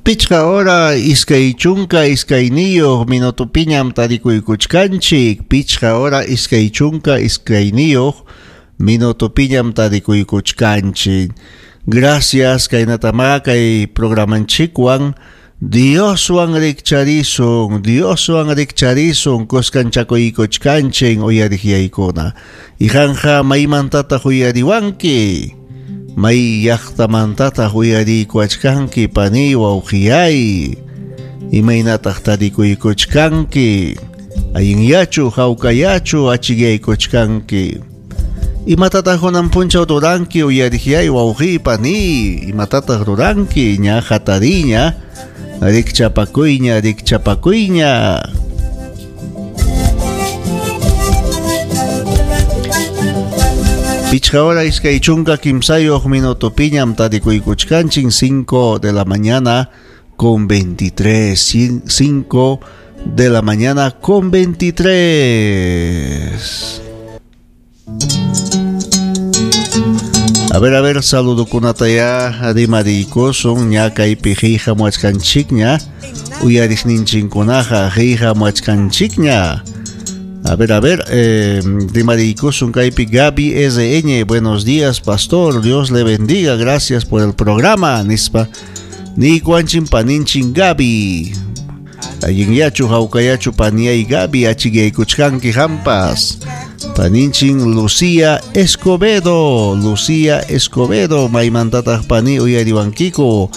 Pichqa hora 22 minutopiñam tarikuykuchkanchik. Pichqa hora 22 minutopiñam tarikuykuchkanchik. Gracias kaynatamá kay programanchikwan Dioswan rikcharisun, Dioswan rikcharisun, kuskanchakuykuchkanchik uyariqyaykuna. Iqanqa maymantataq uyariwanki? May llaqtamantataq uyariykuwachkanki paniy wawqiyay? Imaynataq tarikuykuchkanki? Allinyachu, hawkayachu achikyaykuchkanki? Imatataq kunan punchaw ruranki uyariqyay wawqiy paniy? Imatataq ruranki? Ña hatariña, rikchapakuyña, rikchapakuyña. Pichqa hora 23 minutopiñam tarikuykuchkanchik, 5 de la mañana con 23, 5 de la mañana con 23. A ver, saludokunataya rimariykusun ña kaypi qillqamuwachkanchikña, uyariqninchikkunaqa qillqamuwachkanchikña. A ver, rimariykusun kaypi Gaby RN, buenos días, pastor, Dios le bendiga, gracias por el programa, nispa niykuwanchin paninchik Gaby. Allinyachu, hawkayachu paniyay Gaby, achikyaykuchkanki hampas. Paninchin Lucía Escobedo, Lucía Escobedo, maymantataq pani uyariwankiku.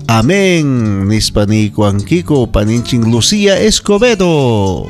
Amén, nispa niykuwankiku, paninchin Lucía Escobedo.